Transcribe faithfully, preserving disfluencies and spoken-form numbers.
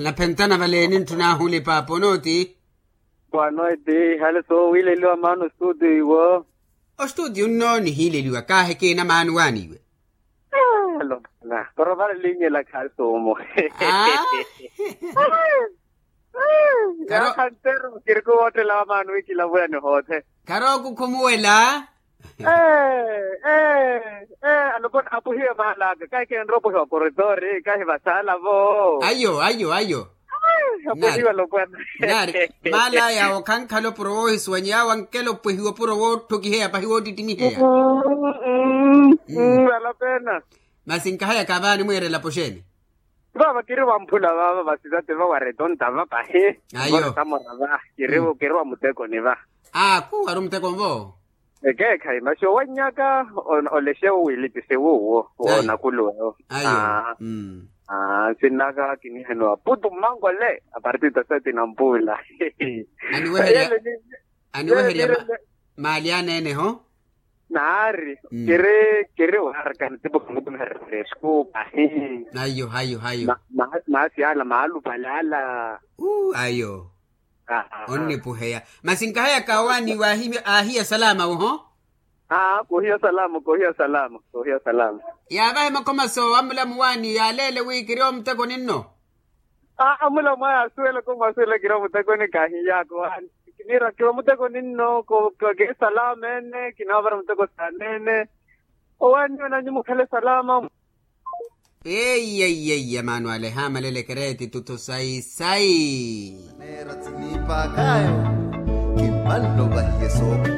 Naphentana valeeni ntthuna ahulipa aponooti. Kwanooti hale soowiileliwa maana ostuutiyo iwo. Ostuutiyo nno nihiileliwa kaahi kiina maana owaaniwe. Alopona porovaali linyela khaali soomo. Karo- Yaakha nteru kiri kuwoottela wa maana wikilavulani hoothe. Karo kukhumuwela. Ee ee ee alopona apuhiwe maala aka kahi keenropohiwa koritori kahi vasaala vo. Ayo ayo ayo. Apuhiwe alopona. Naari maala aya okhankhala opuro woohisuwanya yaawo ankela opwehiwa opuro wootthokiheya pahi woottittimiheya. Alopena. Masi nkahayaka vaani mweerela poxeeni. Vaava kiri wamphula vaava vasisate vawaretonta va pahi. Ayo. Voretamora va kiri kiri wa mutekoni va. Aa khuwari omutekoni vo. Ekeekhayi maxi owannyaka. Olexe wo wiilipise wuwo woonakulu ewo. Ayo. Nsinnaka kinihenowa putu mmankole apartita sati na mpuula. Aniweherya maali aneene ho. Naari kiri kiri waaraka ntipo khamukumihererya eskuupa. Ayo ayo ayo. Maasi ala maalupale ala. Ayo. Onnipuheya masi nkahayaka owaani waahiya salama wo ho. Aa koohiya salama koohiya salama koohiya salama. Yaavahe makhoma soowa mmulamu waani yaaleele wi kiri omutekoni nno. Aa mmulamu aya asuwelaka omwasuwela kiri omutekoni kaahiyaaka owaani. Kiniira kiri omutekoni nno. Keesalama ene kinaavara muteko saaneene. Owaani onanyu mukhale salama. Eiyeiyeia maano ale haamalele kereeti tutho sayi sayi. Neera tsiniipaakhayo kimmanno vahiye sooku.